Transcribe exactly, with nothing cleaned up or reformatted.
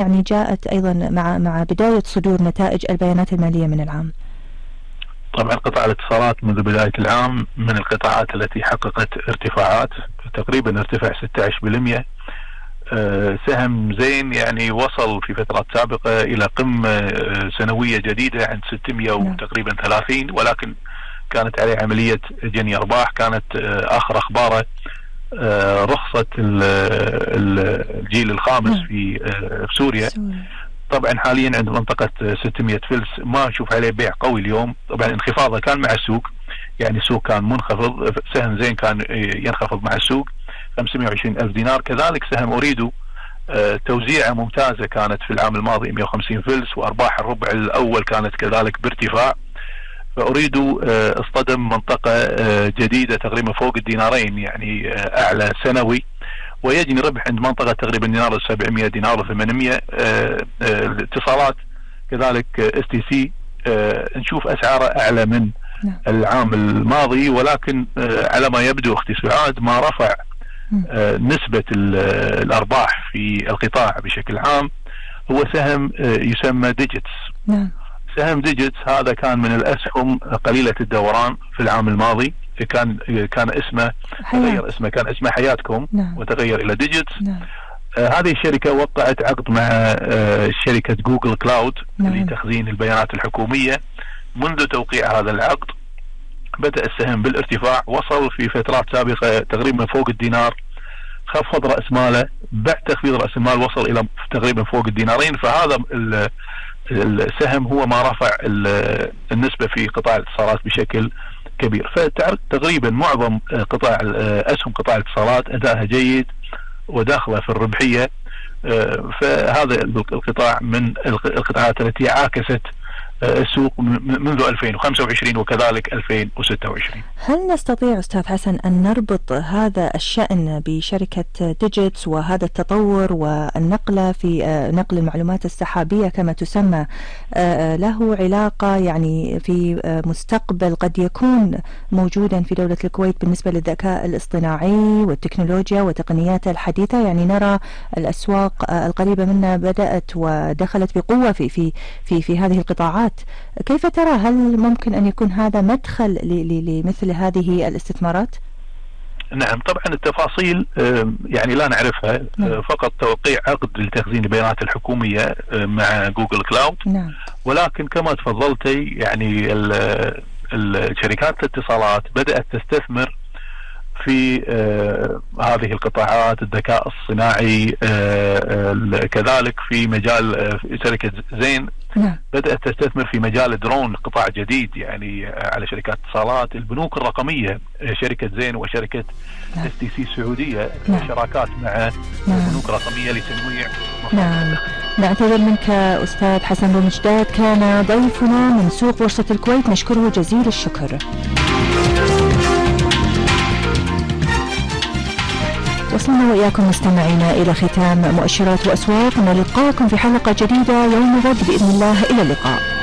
يعني جاءت أيضا مع مع بداية صدور نتائج البيانات المالية من العام. طبعا قطاع الاتصالات منذ بداية العام من القطاعات التي حققت ارتفاعات، تقريبا ارتفع ستة عشر بالمئة. سهم زين يعني وصل في فترات سابقة إلى قمة سنوية جديدة عند ستمئة وتقريبا ثلاثين، ولكن كانت عليه عملية جني أرباح. كانت آخر أخباره رخصة الجيل الخامس في سوريا. طبعا حاليا عند منطقة ستمئة فلس ما نشوف عليه بيع قوي اليوم. طبعا انخفاضه كان مع السوق، يعني السوق كان منخفض، سهم زين كان ينخفض مع السوق خمسمئة وعشرين ألف دينار. كذلك سهم أريدو توزيعه ممتازة كانت في العام الماضي مئة وخمسين فلس، وأرباح الربع الأول كانت كذلك بارتفاع. فأريدو اصطدم منطقة جديدة تقريبا فوق الدينارين، يعني أعلى سنوي، ويجني ربح عند منطقة تقريبا دينار سبعمئة دينار وثمانمئة. الاتصالات كذلك اس تي سي نشوف أسعاره أعلى من العام الماضي، ولكن على ما يبدو أختي سعاد ما رفع نسبة الأرباح في القطاع بشكل عام. هو سهم يسمى ديجيتس. سهم ديجيتس هذا كان من الأسهم قليلة الدوران في العام الماضي، كان كان اسمه تغير اسمه كان اسمه حياتكم نعم. وتغير إلى ديجيتس. نعم. آه هذه الشركة وقعت عقد مع آه شركة جوجل كلاود نعم. لتخزين البيانات الحكومية. منذ توقيع هذا العقد بدأ السهم بالارتفاع، وصل في فترات سابقة تقريبا فوق الدينار، خفض رأس ماله، بعد تخفيض رأس المال وصل إلى تقريبا فوق الدينارين. فهذا السهم هو ما رفع النسبة في قطاع الاتصالات بشكل كبير. فتقريبا معظم قطاع أسهم قطاع الاتصالات أداءها جيد وداخله في الربحية. فهذا القطاع من القطاعات التي عاكست السوق منذ ألفين وخمسة وعشرين وكذلك ألفين وستة وعشرين. هل نستطيع أستاذ حسن أن نربط هذا الشأن بشركة ديجيتس وهذا التطور والنقلة في نقل المعلومات السحابية كما تسمى له علاقة يعني في مستقبل قد يكون موجودا في دولة الكويت بالنسبة للذكاء الاصطناعي والتكنولوجيا وتقنيات الحديثة؟ يعني نرى الأسواق القريبة منا بدأت ودخلت بقوة في في في في هذه القطاعات. كيف ترى، هل ممكن أن يكون هذا مدخل لمثل هذه الاستثمارات؟ نعم طبعا التفاصيل يعني لا نعرفها. نعم. فقط توقيع عقد لتخزين البيانات الحكومية مع جوجل كلاود. نعم. ولكن كما تفضلتي يعني الشركات الاتصالات بدأت تستثمر في آه هذه القطاعات، الذكاء الصناعي آه كذلك في مجال آه شركة زين نعم. بدأت تستثمر في مجال الدرون، قطاع جديد يعني على شركات اتصالات. البنوك الرقمية شركة زين وشركة نعم. اس تي سي السعودية نعم. شراكات مع نعم. بنوك رقمية لتنويع. نعم. نعتذر منك أستاذ حسن بومجداد، كان ضيفنا من سوق بورصة الكويت، نشكره جزيل الشكر. وصلنا وإياكم مستمعينا إلى ختام مؤشرات وأسواق، نلقاكم في حلقة جديدة يوم غد بإذن الله. إلى اللقاء.